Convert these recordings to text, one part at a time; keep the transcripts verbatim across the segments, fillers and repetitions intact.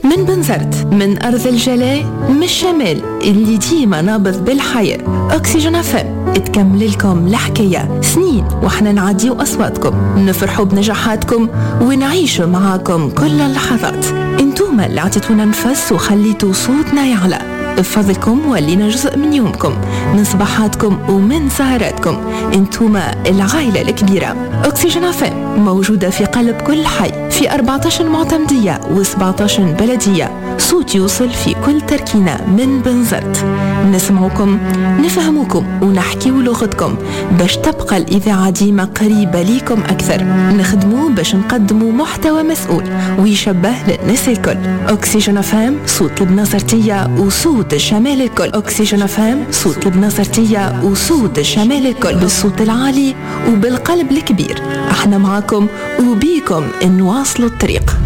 من بنزرت، من أرض الجلاء، من الشمال اللي ديما نابض بالحياة. أكسجين أف أم تكمل لكم الحكاية سنين وحنا نعديو أصواتكم، نفرحوا بنجاحاتكم ونعيشوا معاكم كل اللحظات. انتوما اللي عطيتونا نفس وخليتوا صوتنا يعلى، بفضلكم ولينا جزء من يومكم، من صباحاتكم ومن سهراتكم. انتوما العائلة الكبيرة. أكسجين أف أم موجودة في قلب كل حي، في أربعة عشر معتمدية وسبعة عشر بلدية. صوت يوصل في كل تركينة من بنزرت. نسمعكم، نفهمكم ونحكيو لغتكم باش تبقى الإذاعة ديما قريبة ليكم أكثر. نخدمو باش نقدموا محتوى مسؤول ويشبه للناس الكل. أكسجين أف أم، صوت البنزرتية وصوت الشمال الكل. أكسجين أف أم، صوت البنزرتية وصوت الشمال الكل، بالصوت العالي وبالقلب الكبير. احنا معاكم وبيكم نواصلوا الطريق.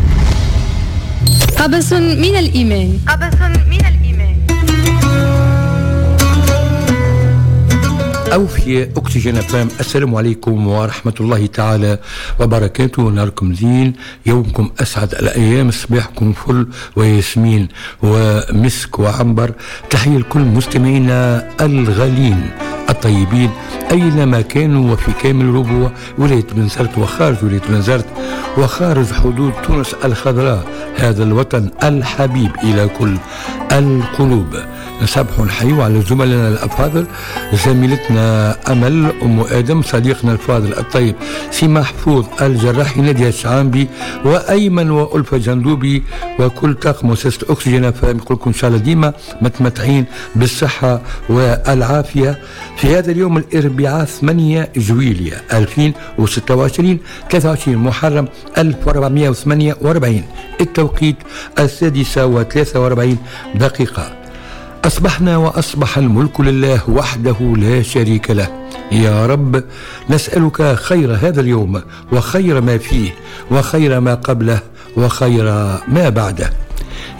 قبس من الإيمان. قبس من الإيمان. أوفياء أكسجين أف أم، السلام عليكم ورحمة الله تعالى وبركاته. نهاركم زين، يومكم أسعد الأيام، صباحكم فل وياسمين ومسك وعنبر. تحية لكل مستمعينا الغالين الطيبين أينما كانوا وفي كامل ربوع ولاية بنزرت وخارج ولاية بنزرت وخارج حدود تونس الخضراء، هذا الوطن الحبيب إلى كل القلوب. نصبح نحيو على زملائنا الأفاضل، زميلتنا أمل أم آدم، صديقنا الفاضل الطيب سي محفوظ الجراحي، نادية الشعامبي، وأيمن وألفة جندوبي، وكل طاقم مؤسسة أكسجين. فنقول لكم إن شاء الله ديما متمتعين بالصحة والعافية في هذا اليوم الأربعاء ثمانية جويلية ألفين وستة وعشرين، ثلاثة وعشرين محرم ألف وأربعمئة وثمانية وأربعين، التوقيت السادسة وثلاثة وأربعين دقيقة. أصبحنا وأصبح الملك لله وحده لا شريك له. يا رب نسألك خير هذا اليوم وخير ما فيه وخير ما قبله وخير ما بعده.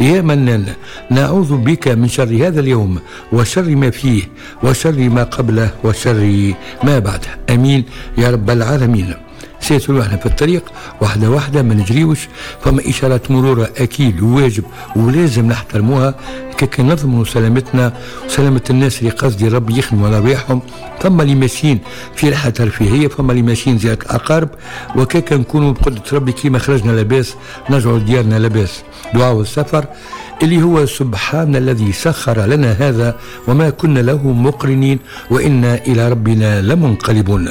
يا منان نعوذ بك من شر هذا اليوم وشر ما فيه وشر ما قبله وشر ما بعده. امين يا رب العالمين. سيسولوا احنا في الطريق واحدة واحدة، ما نجريوش. فما إشارات مرور أكيد وواجب ولازم نحترموها كي نضمنوا سلامتنا وسلامة الناس اللي قصدي ربي يخدموا على رواحهم. ثم اللي ماشيين في رحلة ترفيهية، فما اللي ماشيين زيارة الأقارب، وكيك نكونوا بقدرة ربي كيما خرجنا لاباس نرجعوا لديارنا لاباس. دعاء السفر اللي هو سبحان الذي سخر لنا هذا وما كنا له مقرنين وإنا إلى ربنا لمنقلبون.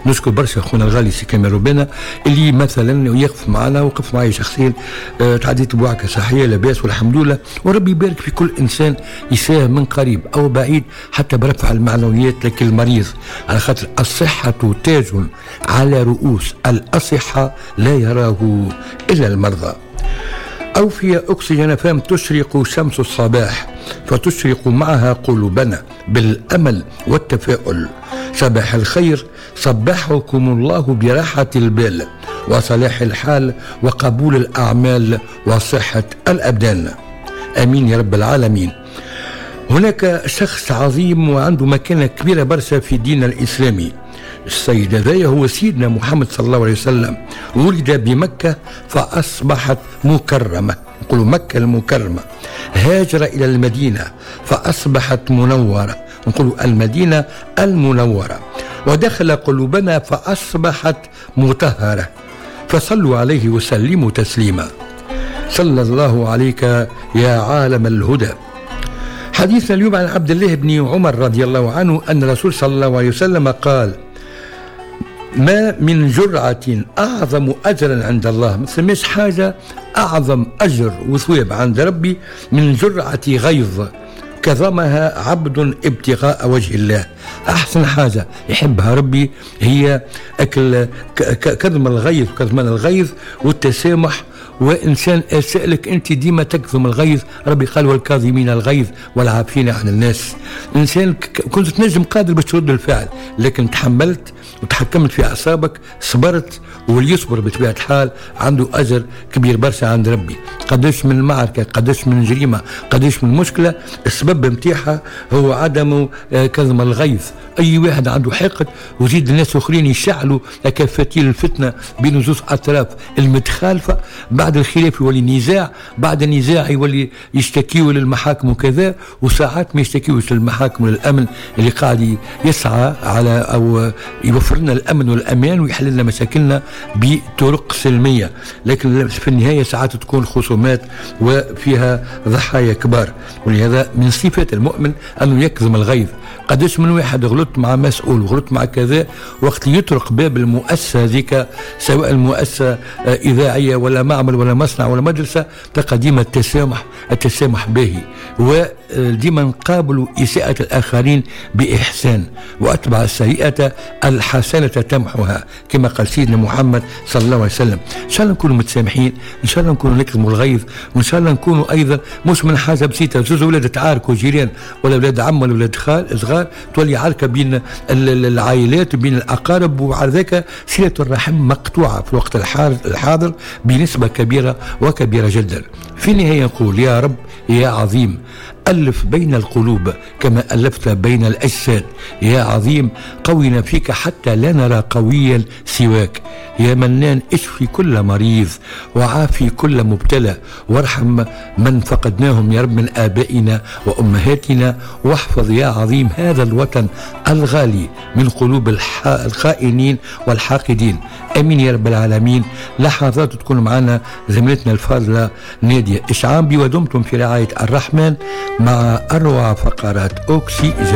نشكر برشا خونا الغالي سي كمال روبانا اللي مثلا يقف معنا، وقف معي شخصيا، آه، تعديت بوعكة صحية لاباس والحمد لله. وربي يبارك في كل انسان يساهم من قريب او بعيد حتى برفع المعنويات لكل مريض، على خاطر الصحة تاج على رؤوس الأصحة لا يراه إلا المرضى. أوفياء أكسجين أف أم، تشرق شمس الصباح فتشرق معها قلوبنا بالأمل والتفاؤل. صباح الخير، صبحكم الله براحة البال وصلاح الحال وقبول الأعمال وصحة الأبدان، آمين يا رب العالمين. هناك شخص عظيم وعنده مكانة كبيرة برشا في ديننا الإسلامي. السيد هذايا هو سيدنا محمد صلى الله عليه وسلم، ولد بمكة فأصبحت مكرمة، نقولوا مكة المكرمة. هاجر إلى المدينة فأصبحت منورة، نقولوا المدينة المنورة. ودخل قلوبنا فأصبحت مطهرة. فصلوا عليه وسلموا تسليما. صلى الله عليك يا عالم الهدى. حديثنا اليوم عن عبد الله بن عمر رضي الله عنه أن الرسول صلى الله عليه وسلم قال: ما من جرعة أعظم أجرا عند الله. ما ثماش حاجة أعظم أجر وثواب عند ربي من جرعة غيظ كظمها عبد ابتغاء وجه الله. أحسن حاجة يحبها ربي هي أكل كظم الغيظ، كظمان الغيظ والتسامح. وإنسان أسألك أنت ديما تكظم الغيظ، ربي قال: والكاظمين الغيظ والعافين عن الناس. إنسان كنت تنجم قادر باش ترد الفعل لكن تحملت. وتحكمت في اعصابك، صبرت، واللي يصبر بطبيعة الحال عنده اجر كبير برشا عند ربي. قداش من معركة، قداش من جريمة، قداش من مشكلة السبب نتاعها هو عدم كظم الغيظ. اي واحد عنده حقد وزيد الناس اخرين يشعلوا كفتيل الفتنة بين زوج اطراف المتخالفه، بعد الخلاف يولي نزاع، بعد النزاع يولي يشتكيوا للمحاكم وكذا، وساعات ما يشتكيوش للمحاكم وللامن اللي قاعد يسعى على او يوفر لنا الامن والامان ويحل لنا مشاكلنا بطرق سلمية، لكن في النهاية ساعات تكون خصومات وفيها ضحايا كبار. ولهذا من صفات المؤمن انه يكظم الغيظ. قداش من واحد غلط مع مسؤول وغلط مع كذا، وقت يطرق باب المؤسسة هذيك، سواء المؤسسة اذاعية ولا معمل ولا مصنع ولا مدرسه، تلقى ديما التسامح، التسامح باهي، وديما نقابلوا اساءه الاخرين باحسان، واتبع السيئة الحسنة تمحها كما قال سيدنا محمد صلى الله عليه وسلم. ان شاء الله نكونوا متسامحين، ان شاء الله نكونوا نكظموا الغيظ، وان شاء الله نكونوا ايضا مش من حاجة بسيطة، زوز اولاد تعاركوا جيران ولا اولاد عم ولا اولاد خال صغار، تولي عركة بين العائلات وبين الاقارب، وعلى ذاك صله الرحم مقطوعة في الوقت الحاضر بنسبة كبيرة وكبيره جدا. في النهاية نقول يا رب يا عظيم ألف بين القلوب كما ألفت بين الأجساد، يا عظيم قونا فيك حتى لا نرى قويا سواك، يا منان اشفي كل مريض وعافي كل مبتلى، وارحم من فقدناهم يا رب من آبائنا وأمهاتنا، واحفظ يا عظيم هذا الوطن الغالي من قلوب الخائنين والحاقدين، أمين يا رب العالمين. لحظات تكون معنا زميلتنا الفاضلة نادية إشعامبي، ودمتم في رعاية الرحمن مع أروع فقرات أوكسي جن.